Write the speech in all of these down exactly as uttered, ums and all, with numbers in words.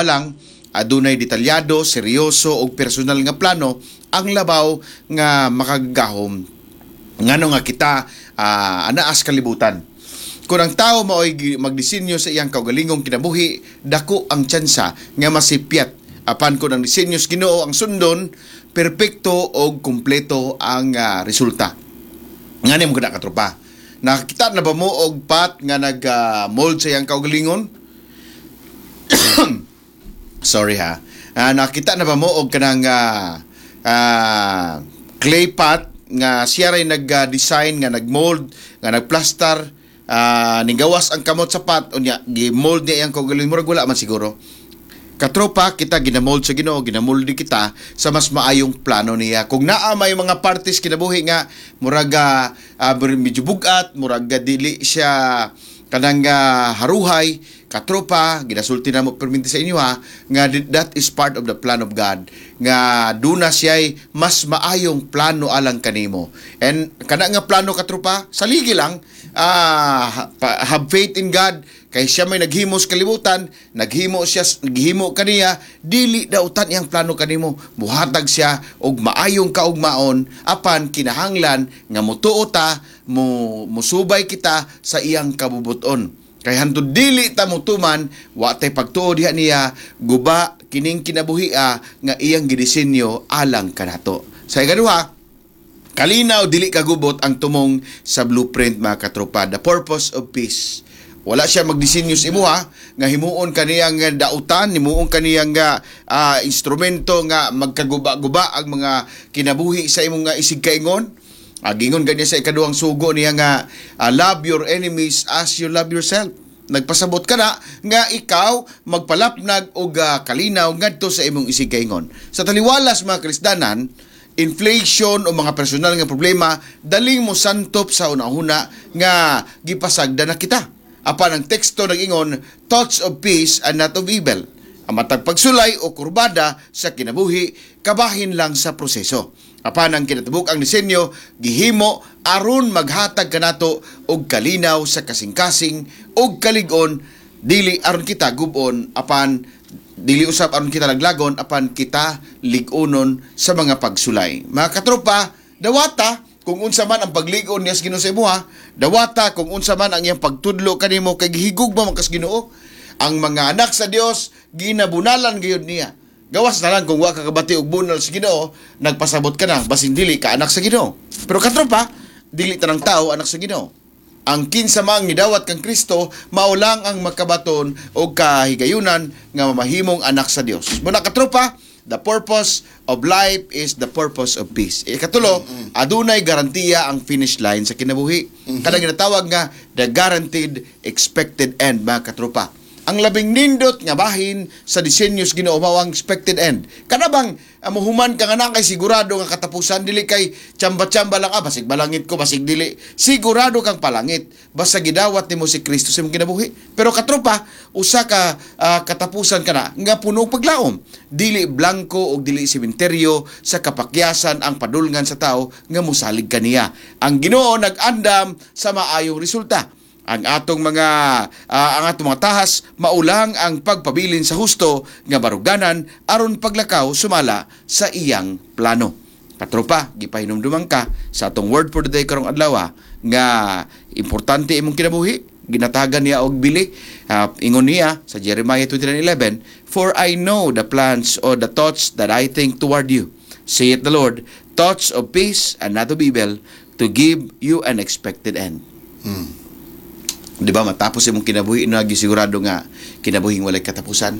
pa lang adunay detalyado, seryoso ug personal nga plano ang labaw nga makagagahom ngano nga kita uh, anaas kalibutan. Kung ang tao mao'y gi- magdisenyo sa iyang kaugalingong kinabuhi, dako ang tsansa nga masipyat. Apan kung ang disenyo sa Ginoo ang sundon, perpekto og kumpleto ang ah, resulta. Ngani mo kada katropa. Nakakita na ba mo og pot nga nag ah, mold sa iyang kaugalingon? Sorry ha. Ah, nakita na ba mo og kanang ah, ah, clay pot nga siya ray nag-design nga nag-mold nga nagplaster uh, nigawas ang kamot sa pot unya gi-mold niya iyang kaugalingon murag wala man siguro. Katropa, kita ginamold sa Ginoo, ginamolde kita sa mas maayong plano niya. Kung naa may mga parties kinabuhi nga murag ah, ah, medyo bugat, murag ah, dili siya kanang ah, haruhay, katropa, ginasulti na mo perminti sa inyo ha, nga di- that is part of the plan of God. Nga duna siya'y mas maayong plano alang kanimo. And kana nga plano katropa, saligi lang, ah, pa- have faith in God, kay siya may naghimo sa kalibutan, naghimo siya, naghimo kaniya, dili dautan iyang plano kanimo. Muhatag siya og maayong kaugmaon apan kinahanglan nga mutuo ta, mo musubay kita sa iyang kabubuton. Kay hantod dili ta motuman, wa tay pagtuo diha niya, guba kining kinabuhia nga iyang gidisenyo alang kanato. Sa ikaduha, kalinaw dili kagubot ang tumong sa blueprint mga katropa, the purpose of peace. Wala siya magdisenyo sa imuha nga himuon kaniyang dautan, himuon kaniyang nga ah, instrumento nga magkaguba-guba ang mga kinabuhi sa imong nga isigkaingon. Agingon ganya sa ikaduhang sugo niya nga ah, love your enemies as you love yourself. Nagpasabot ka na nga ikaw magpalapnag og ah, kalinaw ngadto sa imong isigkaingon. Sa taliwalas mga krisdanan, inflation o mga personal nga problema daling mo santop sa una-una nga gipasagda na kita. Apan ang teksto nag-ingon, thoughts of peace and not of evil. Ang matag pagsulay o kurbada sa kinabuhi, kabahin lang sa proseso. Apan ang kinatibuk ang disenyo, gihimo aron maghatag kanato og kalinaw sa kasing-kasing og kalig-on, dili aron kita gubon apan dili usab aron kita laglagon apan kita lig-onon sa mga pagsulay. Mga katropa, dawata kung unsa man ang paglig-on niya sa Ginoo sa imuha, dawata kung unsa man ang iyang pagtudlo kanimo kay gihigugma man kas Ginoo. Ang mga anak sa Dios ginabunalan gayud niya. Gawas na lang kung wa ka kabati og bunal sa Ginoo, nagpasabot ka na basin dili ka anak sa Ginoo. Pero katropa, dili tanang tao anak sa Ginoo. Ang kinsa mang nidawat kang Kristo, mao lang ang makabaton og kahigayunan nga mamahimong anak sa Dios. Muna katropa, the purpose of life is the purpose of peace. Ikatulo, adunay garantiya ang finish line sa kinabuhi. Kanang ginatawag nga the guaranteed expected end mga katropa. Ang labing nindot nga bahin sa disenyo sa Ginoo mao ang expected end. Kana bang uh, muhuman ka nga na kay sigurado nga katapusan dili kay tsamba-tsamba lang ah basig balangit ko basig dili. Sigurado kang palangit basta gidawat nimo si Kristo sa imong kinabuhi. Pero katropa, usa ka ah, katapusan kana nga puno og paglaom. Dili blanko og dili sementeryo sa kapakyasan ang padulngan sa tao nga mosalig kaniya. Ang Ginoo nag-andam sa maayong resulta ang atong mga ah, ang atong mga tahas maulang ang pagpabilin sa husto nga baruganan aron paglakaw sumala sa iyang plano. Katropa, gipahinumduman ka sa atong word for the day karong adlaw nga importante imong kinabuhi ginatagan niya og bili Ah, ingon niya sa Jeremiah twenty-nine eleven For I know the plans or the thoughts that I think toward you saith the Lord thoughts of peace and not of evil to give you an expected end Di ba matapos imong kinabuhi na gisigurado nga kinabuhing walay katapusan.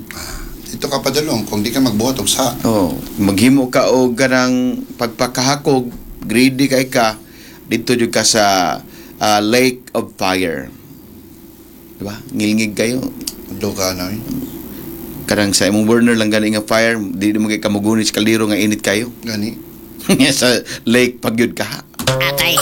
Dito ka padulong kung di ka magbuhat og sa. Oh, maghimo ka og kanang pagpakahakog, greedy kay ka, dito jud ka sa ah, lake of fire. Di ba? Ngilngig kayo. Do ka na. eh. Kanang sa imong burner lang gani nga fire, di mo kay kamugunit sa kaldero nga init kayo. Gani. sa lake pagyud ka. Atay.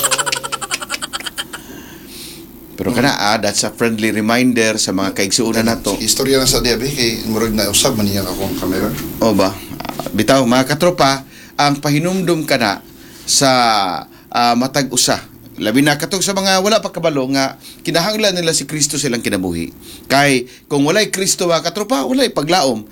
Pero kana ah, that's a friendly reminder sa mga kaigsuonan nato. Istorya lang sa diabe kay murag na usab man niya akong camera. O ba? Ah, Bitaw mga katropa, ang pahinumdum kana sa ah, matag usa. Labi na katong sa mga wala pa kabalo nga kinahanglan nila si Kristo silang kinabuhi. Kay kung walay Kristo mga katropa, walay paglaom.